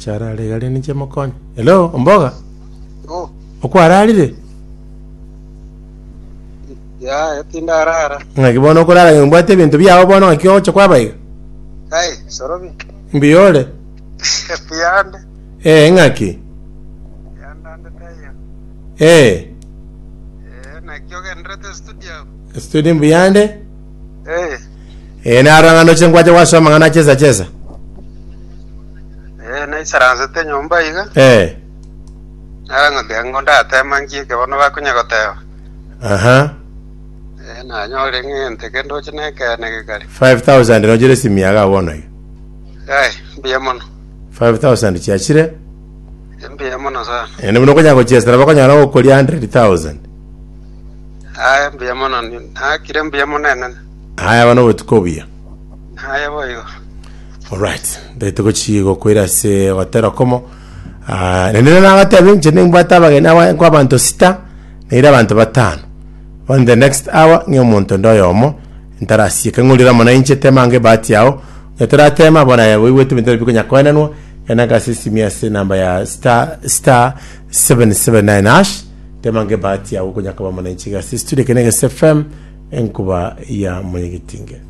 Acha arare iga rende inche mokonye. Hello, omboga? Oh, Okwararire? yaya tindarara. Ng'aki bono okorara ng'a mbwate ebinto biao bono ng'aki ogocha kwaba iga? Ai, sorobi. Mbuya ore? Mbuyande. Eh, ng'aki? Mbuyande ande taiyo. Eh, Eh, naki ogenderete studio? studio mbuyande? Eh, Eh, narora ng'a ndoche ngwacha gwasoma amang'ana achesa chesa. eh, naisaransete nyomba iga. Eh, Nara ng'oteba ng'o ndatema ngieke bono bakonya goteba. aha. Eh, nanyore ng'ente kende oche nekeene gekare. 5000 nochere esimi yago abwo bono iga. Ai, mbuya mono. 5000 chiachire. Mbuya mono sana. Naende buna okonyara gochiesera bakonyara gokoria 100,000. Aye mbuya mono, nakire mbuya mono enene. Aya abana obotuko obuya. Aye boigo. Alright, ndete gochi gokoira ase gotera komo. Ah, naende nagateba inche nimbwate abageni aba nkwa abanto sita, naire abanto batano. On the next hour ng'e omonto onde oyomo ntarasieka ng'orire amo nainche tema ange ebahati yao. Onye toratema bono aye oigwete ebinto bikonya koenanwa, genda ase esimi ase enamba ya star star 779 hash tema ange ebahati yao okonya koba amo nainche iga ase studio eke na Egese FM enkuba ya Mwanyagetinge.